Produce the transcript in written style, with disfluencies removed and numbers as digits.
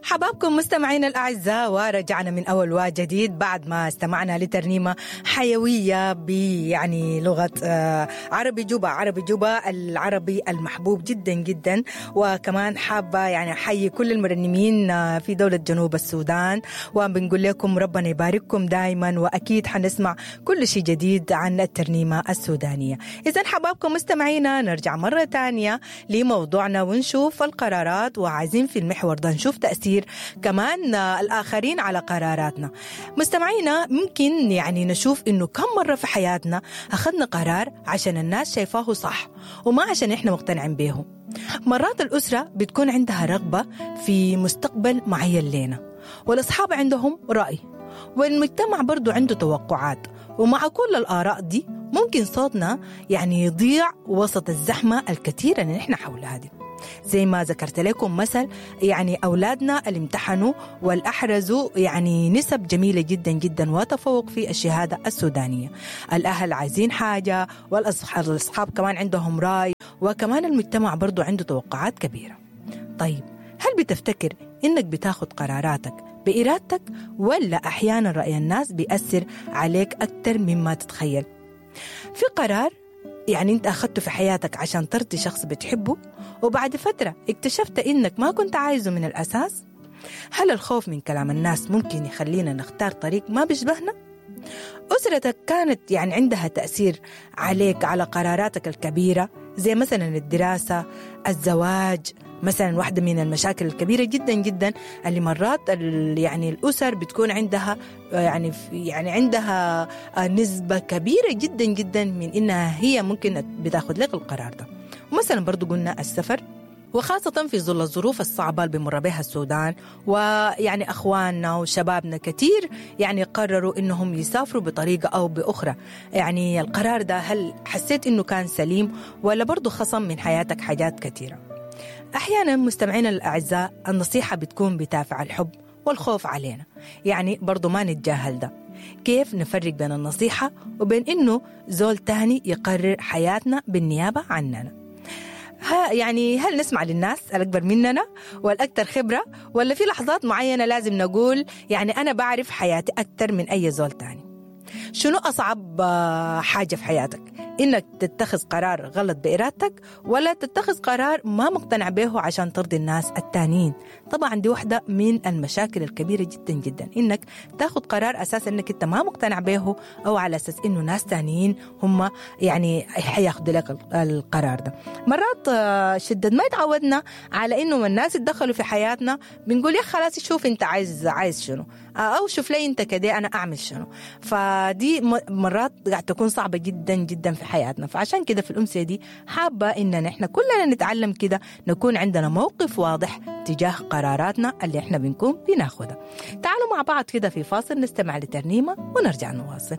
حبابكم مستمعينا الأعزاء، ورجعنا من أول وجديد بعد ما استمعنا لترنيمة حيوية يعني لغة عربي جوبا، عربي جوبا العربي المحبوب جدا جدا. وكمان حابة يعني أحيي كل المرنمين في دولة جنوب السودان، وبنقول لكم ربنا يبارككم دائما، وأكيد حنسمع كل شيء جديد عن الترنيمة السودانية. إذا حبابكم مستمعينا، نرجع مرة تانية لموضوعنا ونشوف القرارات، وعايزين في المحور ده نشوف تأثير كمان الآخرين على قراراتنا. مستمعينا، ممكن يعني نشوف إنه كم مرة في حياتنا أخذنا قرار عشان الناس شايفاه صح وما عشان إحنا مقتنعين به. مرات الأسرة بتكون عندها رغبة في مستقبل معين لنا، والأصحاب عندهم رأي، والمجتمع برضو عنده توقعات، ومع كل الآراء دي ممكن صوتنا يعني يضيع وسط الزحمة الكثيرة اللي نحن حولها دي. زي ما ذكرت لكم مثل يعني أولادنا اللي امتحنوا والأحرزوا يعني نسب جميلة جدا جدا وتفوق في الشهادة السودانية. الأهل عايزين حاجة، والأصحاب كمان عندهم رأي، وكمان المجتمع برضو عنده توقعات كبيرة. طيب، هل بتفتكر إنك بتاخد قراراتك بإرادتك، ولا أحيانا رأي الناس بيأثر عليك أكتر مما تتخيل؟ في قرار يعني أنت أخذته في حياتك عشان ترضي شخص بتحبه، وبعد فترة اكتشفت إنك ما كنت عايزه من الأساس؟ هل الخوف من كلام الناس ممكن يخلينا نختار طريق ما بيشبهنا؟ أسرتك كانت يعني عندها تأثير عليك على قراراتك الكبيرة، زي مثلا الدراسة، الزواج مثلا. واحدة من المشاكل الكبيرة جدا جدا اللي مرات يعني الأسر بتكون عندها يعني عندها نسبة كبيرة جدا جدا من إنها هي ممكن بتاخد لك القرار ده. ومثلا برضو قلنا السفر، وخاصة في ظل الظروف الصعبة اللي بمر بها السودان، ويعني أخواننا وشبابنا كتير يعني قرروا إنهم يسافروا بطريقة أو بأخرى. يعني القرار ده هل حسيت إنه كان سليم، ولا برضو خصم من حياتك حاجات كتيرة؟ أحيانا مستمعينا الأعزاء النصيحة بتكون بدافع الحب والخوف علينا، يعني برضو ما نتجاهل ده. كيف نفرق بين النصيحة وبين إنه زول تاني يقرر حياتنا بالنيابة عننا؟ يعني هل نسمع للناس الأكبر مننا والأكثر خبرة، ولا في لحظات معينة لازم نقول يعني أنا بعرف حياتي أكثر من أي زول تاني؟ شنو أصعب حاجة في حياتك؟ إنك تتخذ قرار غلط بإرادتك، ولا تتخذ قرار ما مقتنع به عشان ترضي الناس التانيين؟ طبعا دي واحدة من المشاكل الكبيرة جدا جدا، إنك تاخذ قرار أساس إنك أنت ما مقتنع به، أو على أساس إنه ناس تانيين هم يعني حياخدوا لك القرار ده. مرات شدة ما تعودنا على إنه الناس يتدخلوا في حياتنا، بنقول يا خلاص شوف أنت عايز شنو، أو شوف لي أنت كده أنا أعمل شنو. فدي مرات قاعد تكون صعبة جدا جدا في حياتنا. فعشان كده في الأمسية دي حابة إن نحن كلنا نتعلم كده، نكون عندنا موقف واضح تجاه قراراتنا اللي احنا بنكون بناخدها. تعالوا مع بعض كده في فاصل نستمع لترنيمة ونرجع نواصل.